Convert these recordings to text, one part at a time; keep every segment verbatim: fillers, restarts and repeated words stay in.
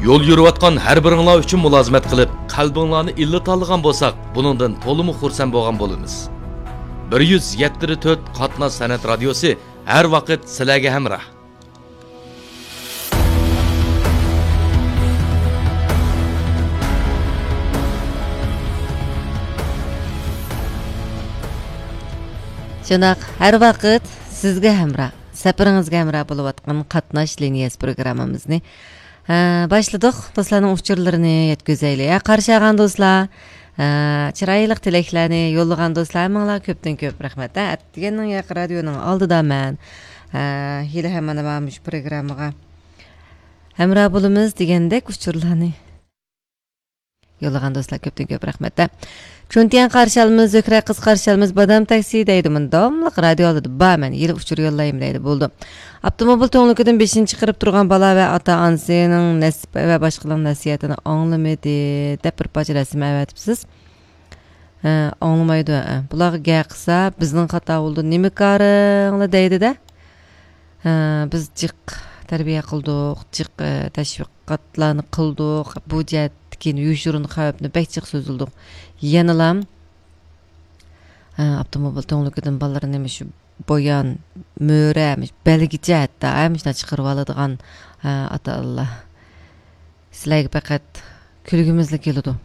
يول يۈرۈۋاتقان ھەر بىرىڭلار ئۈچۈن مۇلازىمەت قىلىپ، قەلبىڭلارنى ئىللىتالىغان بولساق، بۇنىڭدىن تولىمۇ خۇرسەن بولغان بولىمىز. بىر يۈز يەتتە تۆت قاتناش سەنئەت رادىيوسى ھەر ۋاقىت سىلەرگە ھەمراھ. شۇنداق، ھەر ۋاقىت سىزگە ھەمراھ، سەپىرىڭىزگە ھەمراھ بولۇۋاتقان قاتناش لىنىيەسى پروگراممىمىزنى، ھە، باشلىدۇق. دوستلارنىڭ ئۇچۇرلىرىنى يەتكۈزەيلى. ھە، قارشى ئالغان دوستلار، ھە، چىرايلىق تىلەكلەرنى يوللىغان دوستلار، ھەممىڭلارغا كۆپتىن كۆپ رەھمەت. ھە، ئەتىگەننىڭ ياقى رادىيونىڭ ئالدىدا مەن، ھە، ھېلىھەم مانا مۇشۇ پروگراممىغا ھەمراھ بولىمىز دېگەندەك ئۇچۇرلارنى يوللىغان دوستلار، كۆپتىن كۆپ رەھمەت. چۈنتيەن قارشى ئالىمىز، زۆھرە قىز قارشى ئالىمىز، بادام تاكسى دەيدۇ، مۇنداملىق رادىيو ئالدىدا بار، مەن ھېلى ئۇچۇر يوللايمەن دەيدۇ، بولدى. ئاپتوموبىل تۈڭلۈكىدىن بېشىنى چىقىرىپ تۇرغان بالا ۋە ئاتا ئانىسىنىڭ نەسىھەت ۋە باشقىلارنىڭ نەسىھەتىنى ئاڭلىمىدى دەپ بىر پارچە رەسىم ئەۋەتىپسىز. ھە، ئاڭلىمايدۇ، ھە. بۇلارغا گەپ قىلسا، بىزنىڭ خاتا بولىدۇ، نېمە كارىڭلار دەيدۇ-دە. ھە، بىز جىق تەربىيە قىلدۇق، جىق، ئە، تەشۋىقاتلارنى قىلدۇق، بۇ جەھەتتىكى يوشۇرۇن خەۋپنى بەك جىق سۆزلىدۇق. يەنىلا، ھە، ئاپتوموبىل تۈڭلۈكىدىن بالىلىرىنى مۇشۇ بويان، مۈرە، مۇشۇ بەلگىچە ھەتتا، ھە، مۇشۇنداق چىقىرىۋالىدىغان، ھە، ئاتا-ئانىلار. سىلەرگە پەقەت كۈلگۈمىزلا كېلىدۇ.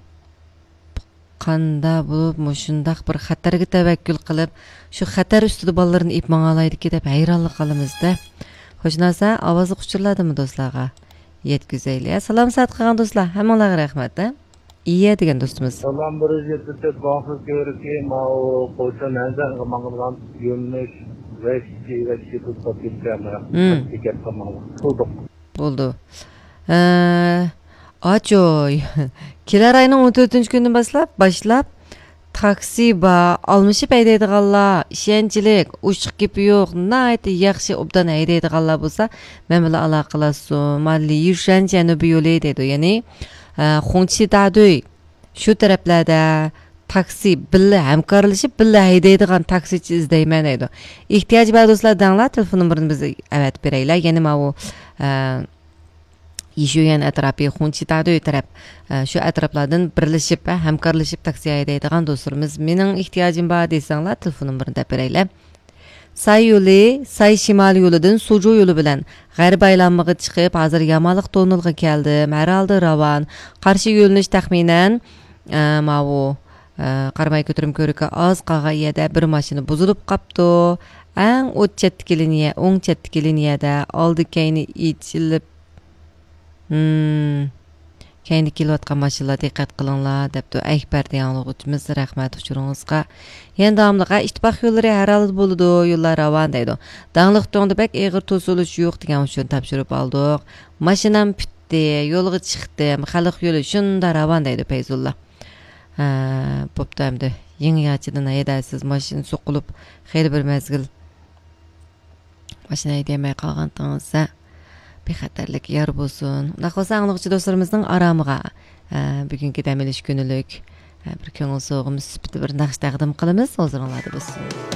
قاندا بولۇپ، مۇشۇنداق بىر خەتەرگە تەۋەككۈل قىلىپ، شۇ خەتەر ئۈستىدە بالىلىرىنى ئېلىپ ماڭالايدىكى دەپ ھەيرانلا قالىمىز-دە. خوش، ناسا ئاۋازلىق ئۇچۇرلاردىمۇ دوستلارغا يەتكۈزەيلى. سالام سائەت قىلغان دوستلار، ھەممىڭلارغا رەھمەت، ھە؟ ئىيە دېگەن دوستىمىز. سالام، بىر يۈز يەتتە تۆت باغسىز كۆۋرۈكى، ماۋۇ قوچان ھەنزەنگە ماڭىدىغان يۆنىلىش ۋەھشىي، ۋەھشىي تۇتقاپ كەتكەن. مم. بىكەت قىلماڭلار. قىلدۇق. بولدى. ھە، ئاچوي. كېلەر ئاينىڭ ئون تۆتىنچى كۈنىدىن باشلاپ، باشلاپ، تاكسى بار، ئالمىشىپ ھەيدەيدىغانلار، ئىشەنچلىك، ئوشۇق گېپى يوق، ناھايىتى ياخشى، ئوبدان ھەيدەيدىغانلار بولسا، مەن بىلەن ئالاقىلاشسۇن. مانا، لىيۈشەن جەنۇبىي يولى دەيدۇ، يەنى، ئە، خۇڭچى دادۈي. شۇ تەرەپلەردە تاكسى بىللە ھەمكارلىشىپ، بىللە ھەيدەيدىغان تاكسىچى ئىزدەيمەن دەيدۇ. ئېھتىياجى بار دوستلار دەڭلار، تېلېفون نومۇرىنى بىز ئەۋەتىپ بېرەيلى. يەنە ماۋۇ، ئە، يىشۈيۈەن ئەتراپى، خۇڭچى دادۈي تەرەپ، ئە، شۇ ئەتراپلاردىن بىرلىشىپ، ئە، ھەمكارلىشىپ تاكسى ھەيدەيدىغان دوستلىرىمىز، مېنىڭ ئېھتىياجىم بار دېسەڭلار، تېلېفون نومۇرىنى دەپ بېرەيلى. ساي يولى، ساي شىمال يولىدىن سۇجۇ يولى بىلەن غەربىي ئايلانمىغا چىقىپ، ھازىر يامانلىق توننېلغا كەلدىم. ھەر ھالدا راۋان. قارشى يۆنىلىش تەخمىنەن، ئە، ماۋۇ، ئە، قاراماي كۆتۈرمە كۆۋرۈكى ئاز قالغان يەردە بىر ماشىنا بۇزۇلۇپ قاپتۇ. ئەڭ ئوت چەتتىكى لىنىيە، ئوڭ چەتتىكى لىنىيەدە ئالدى كەينى ئېچىلىپ، ھىم. كەينىدە كېلىۋاتقان ماشىنىلار دىققەت قىلىڭلار، دەپتۇ ئەكبەر دېگەن ئاڭلىغۇچىمىز، رەھمەت ئۇچۇرىڭىزغا. يەنە داۋاملىق، ھە، ئىتتىپاق يوللىرى ھەر ھالدا بولىدۇ، يوللار راۋان دەيدۇ. داڭلىق تۇڭدا بەك ئېغىر توسۇلۇش يوق دېگەن ئۇچۇرنى تاپشۇرۇپ ئالدۇق. ماشىنام پۈتتى، يولغا چىقتىم، خەلق يولى شۇنداق راۋان دەيدۇ پەيزۇللا. ھە، بوپتۇ ئەمدى. يېڭىچىدىن ھەيدەرسىز ماشىنا سوقۇلۇپ، خېلى بىر مەزگىل ماشىنا ھەيدىيەلمەي قالغانتىڭىز، ھە، بىخەتەرلىك يار بولسۇن. ئۇنداق بولسا، ئاڭلىغۇچى دوستلىرىمىزنىڭ ئارامىغا، ھە، بۈگۈنكى دەم ئېلىش كۈنلۈك، ھە، بىر كۆڭۈل سوۋغىمىز سۈپىتىدە بىر ناخشا تەقدىم قىلىمىز، ھۇزۇرۇڭلاردا بولسۇن.